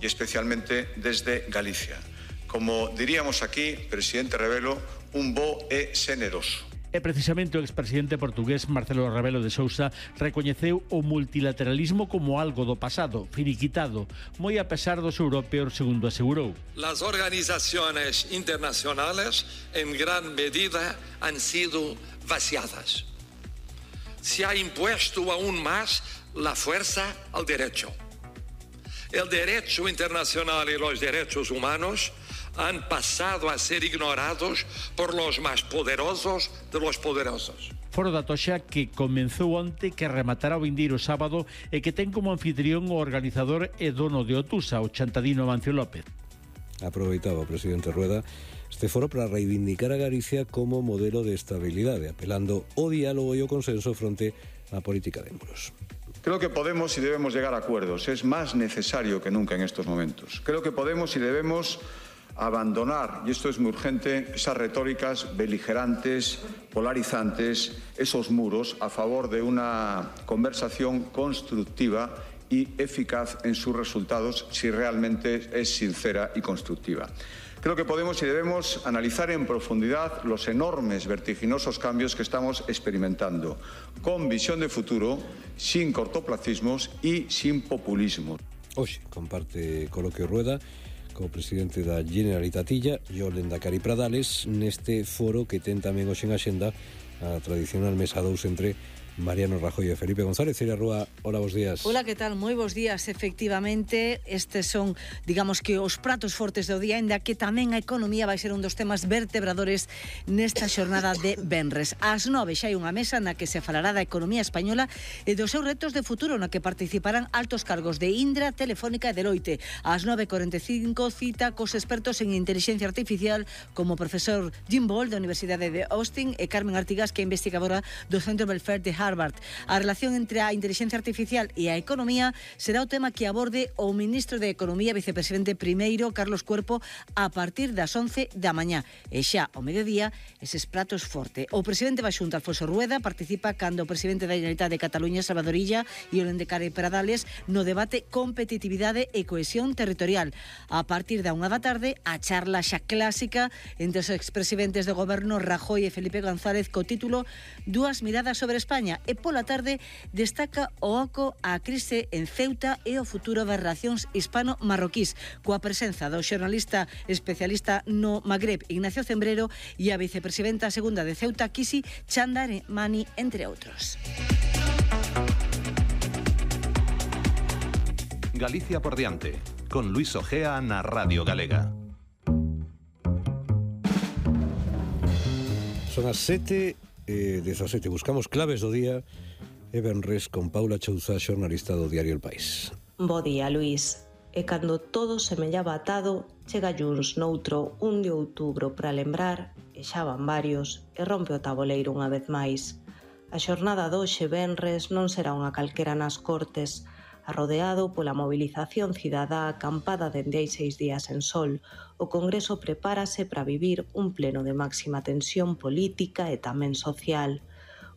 y especialmente desde Galicia. Como diríamos aquí, presidente Rebelo, un bo é xeneroso. E precisamente o expresidente portugués Marcelo Rebelo de Sousa recoñeceu o multilateralismo como algo do pasado, finiquitado, moi a pesar dos europeos, segundo asegurou. Las organizaciones internacionales en gran medida han sido vaciadas. Se ha impuesto aún más la fuerza al derecho. El derecho internacional y los derechos humanos han pasado a ser ignorados por los más poderosos de los poderosos. Foro da Toxa que comenzou onte, que rematará o vindeiro sábado e que ten como anfitrión o organizador e dono de Otusa, o chantadino Amancio López. Aproveitaba o presidente Rueda este foro para reivindicar a Galicia como modelo de estabilidade, apelando ao diálogo e ao consenso fronte á política de muros. Creo que podemos y debemos llegar a acuerdos. Es más necesario que nunca en estos momentos. Creo que podemos y debemos abandonar, y esto es muy urgente, esas retóricas beligerantes, polarizantes, esos muros a favor de una conversación constructiva y eficaz en sus resultados si realmente es sincera y constructiva. Creo que podemos y debemos analizar en profundidad los enormes, vertiginosos cambios que estamos experimentando, con visión de futuro, sin cortoplacismos y sin populismo. Hoxe comparte coloquio Rueda co presidente da Generalitatilla e o Lehendakari Pradales neste foro que ten tamén hoxe en axenda a tradicional mesa 2 entre Mariano Rajoy e Felipe González. Celia Rúa, hola, bos días. Hola, que tal? Moi bos días. Efectivamente, estes son, digamos que os pratos fortes do día, ainda que tamén a economía vai ser un dos temas vertebradores nesta xornada de venres. Ás 9 xa hai unha mesa na que se falará da economía española e dos seus retos de futuro, na que participarán altos cargos de Indra, Telefónica e Deloitte. Ás 9:45 cita cos expertos en inteligencia artificial como o profesor Jim Ball da Universidade de Austin e Carmen Artigas, que é investigadora do Centro Belfer de Harvard. A relación entre a inteligencia artificial e a economía será o tema que aborde o ministro de Economía, vicepresidente primeiro, Carlos Cuerpo, a partir das 11 da mañá. E xa ao mediodía, eses pratos forte. O presidente da Xunta, Alfonso Rueda, participa cando o presidente da Generalitat de Cataluña, Salvador Illa, e o Lehendakari Pradales no debate competitividade e cohesión territorial. A partir da 1 da tarde, a charla xa clásica entre os expresidentes do goberno Rajoy e Felipe González co título Dúas miradas sobre España. E pola tarde destaca o oco a crise en Ceuta e o futuro das relacións hispano-marroquís, coa presenza do xornalista especialista no Magreb Ignacio Cembrero e a vicepresidenta segunda de Ceuta, Kisi Chandaremani, entre outros. Galicia por diante, con Luis Ojea na Radio Galega. Son as 7:17, buscamos claves do día e venres con Paula Chouza, xornalista do diario El País. Bo día, Luís. E cando todo semellaba atado, chega Junts noutro 1 de outubro para lembrar, e xa van varios, e rompe o taboleiro unha vez máis. A xornada doxe venres non será unha calquera nas Cortes, arrodeado pola mobilización cidadá acampada dende hai 6 días en Sol. O Congreso prepárase para vivir un pleno de máxima tensión política e tamén social.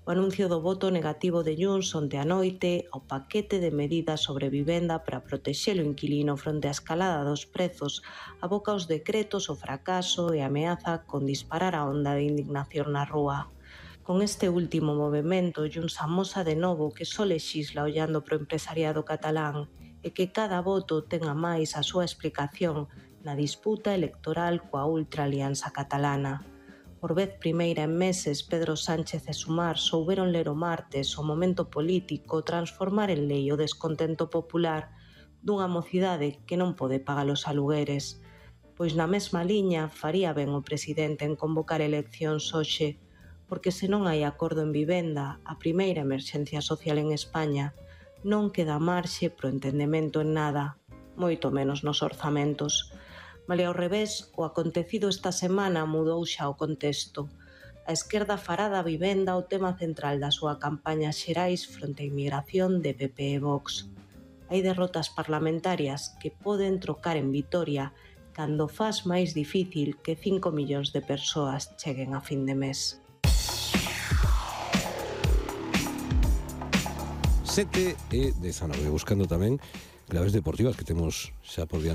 O anuncio do voto negativo de Junts onte a noite ao paquete de medidas sobre vivenda para protexer o inquilino fronte á escalada dos prezos aboca os decretos o fracaso e ameaza con disparar a onda de indignación na rúa. Con este último movimento, Junts amosa de novo que só lexisla ollando pro empresariado catalán e que cada voto tenga máis a súa explicación na disputa electoral coa ultraalianza catalana. Por vez primeira en meses, Pedro Sánchez e Sumar souberon ler o martes o momento político transformar en lei o descontento popular dunha mocidade que non pode pagar os alugueres. Pois na mesma liña faría ben o presidente en convocar eleccións hoxe, porque se non hai acordo en vivenda, a primeira emerxencia social en España, non queda marxe pro entendemento en nada, moito menos nos orzamentos. Malia ao revés, o acontecido esta semana mudou xa o contexto. A esquerda fará da vivenda o tema central da súa campaña xerais fronte á inmigración de PP e Vox. Hai derrotas parlamentarias que poden trocar en vitoria cando faz máis difícil que 5 millóns de persoas cheguen a fin de mes. 7:19, buscando tamén claves deportivas que temos xa por diante.